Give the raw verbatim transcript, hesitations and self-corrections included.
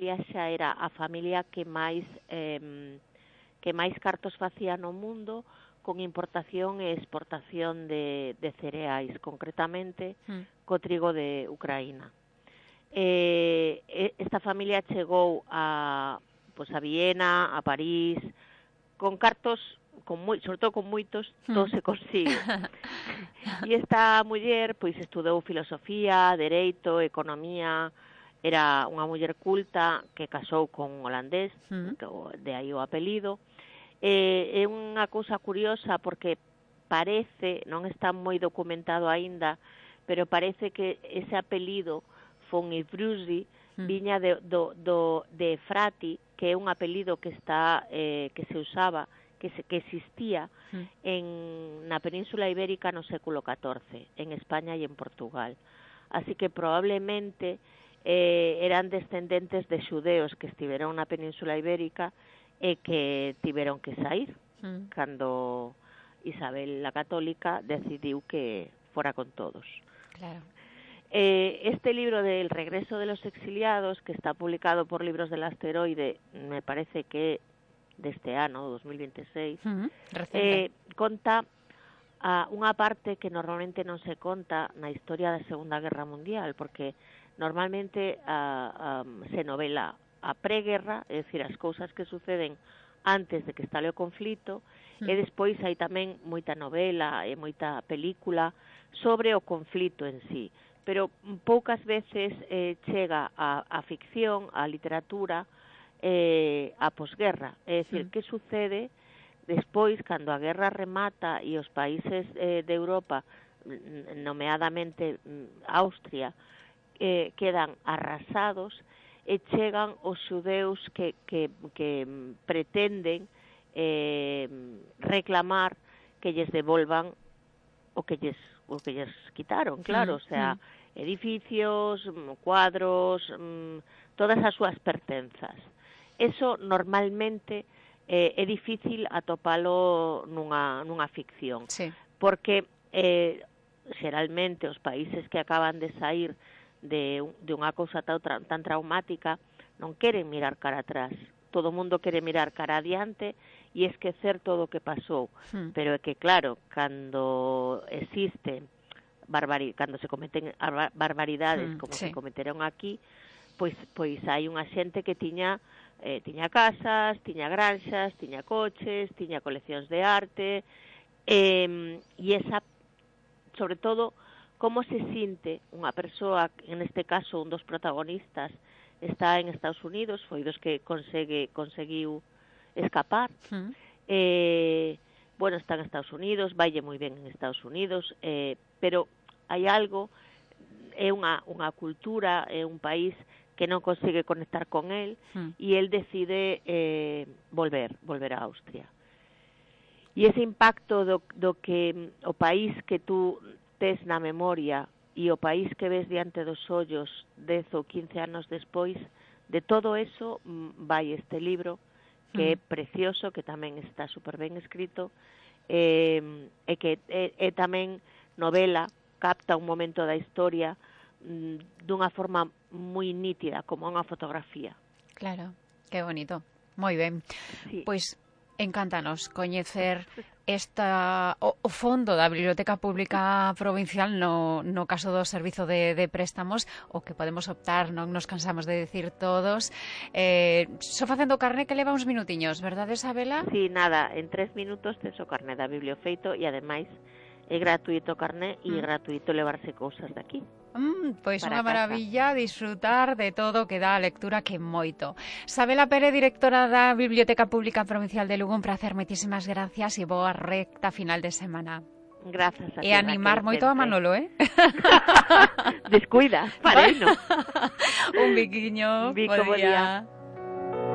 familia xa era a familia que máis eh, que máis cartos facía no mundo, con importación e exportación de, de cereais, concretamente mm. co trigo de Ucraína. Eh, esta familia chegou a, pues, a Viena, a París, con cartos, con moi, sobre todo con moitos, todo se consigue. E esta muller, pois, estudou filosofía, dereito, economía, era unha muller culta que casou con un holandés, mm. de aí o apelido. Eh, é unha cousa curiosa porque parece, non está moi documentado aínda, pero parece que ese apelido von Ivrusi mm. viña de, do, do, de Frati, que é un apelido que está eh, que se usaba, que, se, que existía mm. en na Península Ibérica no século catorce, en España e en Portugal. Así que probablemente eh, eran descendentes de xudeos que estiveron na Península Ibérica e que tiveron que sair mm. cando Isabel la Católica decidiu que fora con todos. Claro. Eh, este libro del regreso de los exiliados, que está publicado por Libros del Asteroide, me parece que de este ano, dos mil veintiséis, uh-huh. eh, conta a unha parte que normalmente non se conta na historia da Segunda Guerra Mundial, porque normalmente uh, um, se novela a preguerra, é dicir, as cousas que suceden antes de que estale o conflito, uh-huh. e despois hai tamén moita novela e moita película sobre o conflito en sí. Pero poucas veces eh, chega a, a ficción, a literatura, eh, a posguerra. É dicir, mm. que sucede despois, cando a guerra remata e os países eh, de Europa, nomeadamente Austria, eh, quedan arrasados e chegan os xudeus que, que, que pretenden eh, reclamar que lles devolvan o que lles, o que lles quitaron, claro, mm. o sea... Mm. edificios, cuadros, todas as súas pertenzas. Eso normalmente eh, é difícil atopalo nunha, nunha ficción, sí. porque eh, xeralmente os países que acaban de sair de, de unha cousa tan, tan traumática non queren mirar cara atrás. Todo o mundo quere mirar cara adiante e esquecer todo o que pasou. Hmm. Pero é que, claro, cando existe... Barbari, cando se cometen barbaridades mm, como sí. se cometeron aquí, pois pois hai unha xente que tiña eh, tiña casas, tiña granxas, tiña coches, tiña coleccións de arte, eh, e esa, sobre todo, como se sinte unha persoa, en este caso un dos protagonistas está en Estados Unidos, foi dos que consegue conseguiu escapar, mm. eh, bueno, está en Estados Unidos, vaille moi ben en Estados Unidos, eh, pero hai algo, é unha, unha cultura, é un país que non consigue conectar con él, mm. e él decide eh, volver, volver a Austria. E ese impacto do, do que o país que tú tes na memoria e o país que ves diante dos ollos dez ou quince anos despois, de todo eso vai este libro, que mm. é precioso, que tamén está super ben escrito, eh, e que é, é tamén novela, capta un momento da historia mm, dunha forma moi nítida, como unha fotografía. Claro, que bonito. Moi ben. Sí. Pois encántanos coñecer esta o, o fondo da Biblioteca Pública Provincial no, no caso do servizo de, de préstamos, o que podemos optar, non nos cansamos de decir todos. Eh, só facendo carné que leva uns minutiños, verdade, Isabela? Sí, nada, en tres minutos tes o carné da Bibliofeito e ademais é gratuito o carné e é gratuito levarse cousas daqui. Mm, pois unha maravilla disfrutar de todo o que dá a lectura, que moito. Isabela Pérez, directora da Biblioteca Pública Provincial de Lugo, un placer, moitísimas gracias e boa recta final de semana. Grazas a ti. E animar moito a Manolo, eh? Descuida, farei, no? Un biquiño, Bico, bo día.